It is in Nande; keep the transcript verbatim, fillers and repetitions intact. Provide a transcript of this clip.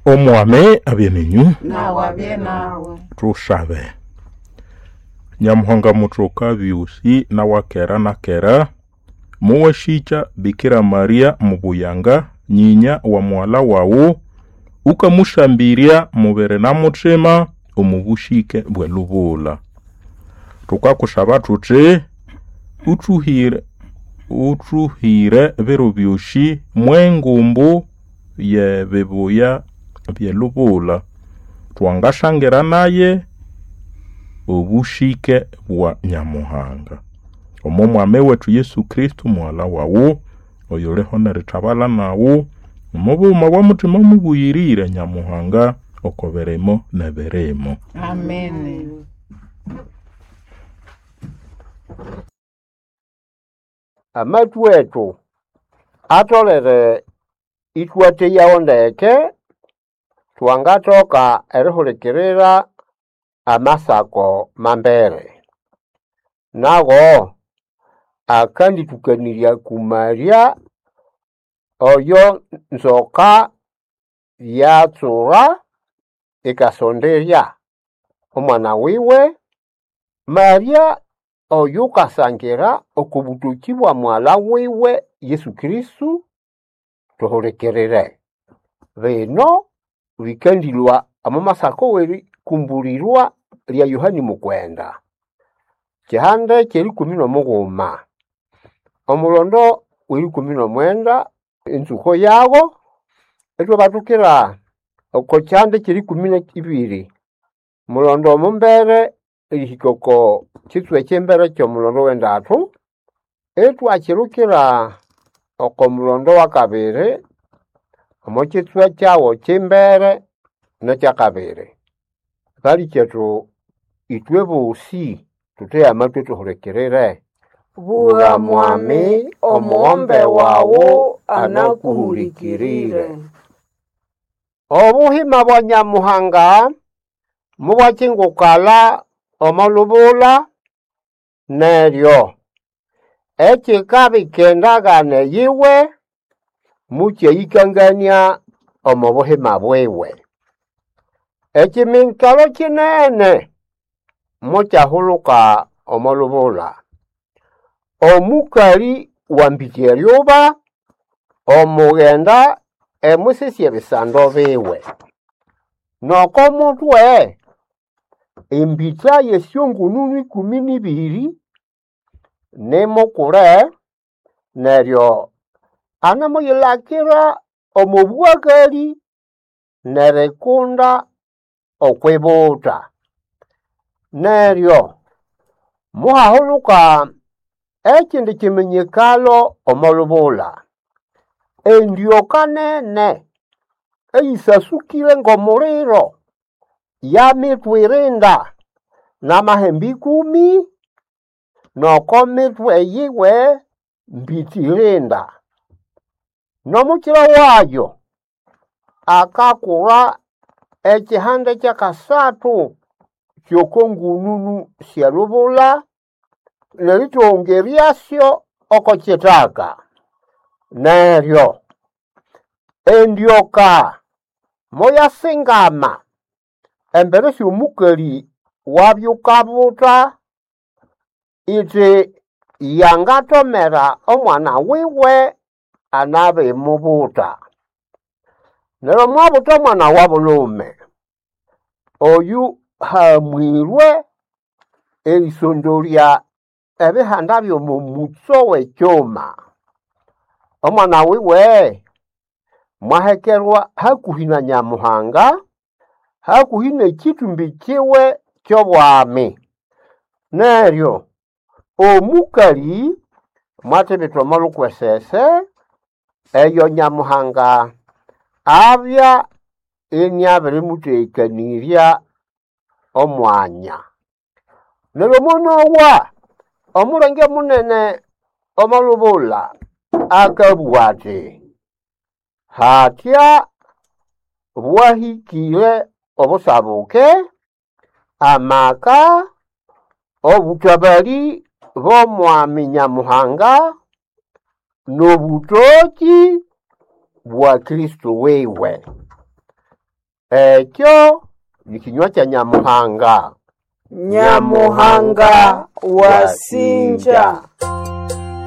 Omwami abye nenyu. Nawe abye nawe. Tusabe. Nyamuhanga muthoka byosi nawakera nakera, muwashikya Bikira Maria mubuyanga nyinya wa muwala wawu, ukamusambirya mubiri na muthima omu bushike bw'elubula. Thukakusaba thuthi uthuhire uthuhire biro byosi mwengumbu y'ebibuya by'elubula, twangasangira naye obushike bwa Nyamuhanga. Omo Mwami wetu Yesu Kristo muwala wawu, oyuliho nerithabala nawu, omo bughuma bwa muthima mubuyirire Nyamuhanga oko birimo n'ebirimo. Amen. Amathu ethu atholere ithwatheyawo ndeke thwangathoka erihulikirira amasako mambere. Nago akandithukanirya kumalya oyo nzoka yatsura ikasonderya omwana wiwe. Maria oyukasangira oko butoki bwa mwala wiwe Yesu Kristo thuhulikirire. Bino bikandilhwa omo masako w'erikumbulirwa lya Yohani Mukwenda, kihande ky'erikumi n'omughuma, omulondo w'erikumi n'omwenda enzuko yago, ithwabathukira oko kihande ky'erikumi n'ibiri, mulondo omumbere erihika oko kitswa eky'imbere ky'omulondo w'endathu, ithwakyirukira oko mulondo w'akabiri omo kitswa kyawo ky'imbere n'ekyakabiri. Balikyethu ithwe bosi thutheye amatwi thuhulikirire. Bugha Mwami, omughombe wawu anakuhulikirire. Obuhima bwa Nyamuhanga mubwakingukalha omo lubula neryo ekikabika endagano yiwe mukyayikangania omo buhima bwiwe. Ekiminyikalo kinene mukyahuluka omo lubula. Omukali wambitya eryuba omughenda emwisisya ebisando biwe. Noko mutwe embitha y'esyongununu ikumi n'ibiri nimukule neryo anamuyilakira omo bwaghali n'erikunda okw'ibuta. Neryo muhahuluka ekindi kiminyikalo omo lubula. Endyoka nene eyisasukire ng'omuliro yamithwirinda n'amahembe ikumi n'oko mithwe yiwe mbitirinda. N'omukira wayo akakura ekihande kyakasathu ky'oko ngununu sy'elubula nerithongeryasyo oko kithaka. Neryo endyoka moyasingama embere sy'omukali wabyukabuta iti yangathomera omwana wiwe anabimubuta. Neryo mwabutha omwana wa bulhume oyu hamwirwe erisondolya ebihanda by'omo mutso w'ekyuma. Omwana wiwe mwahekerwa hakuhi na Nyamuhanga, hakuhi n'ekitumbi kiwe ky'obwami. Neryo omukali mwathibitha omo lukwesese eyo Nyamuhanga abya iniabirimuthekanirya omwanya. Neryo monowa omulenge munene omo lubula akabugha athi hathya bwahikire obusabuke, amaka, obuthabali bw'omwami Nyamuhanga n'obutoki bwa Kristo wiwe. Ekyo ni kinywa kya Nyamuhanga. Nyamuhanga wasinja.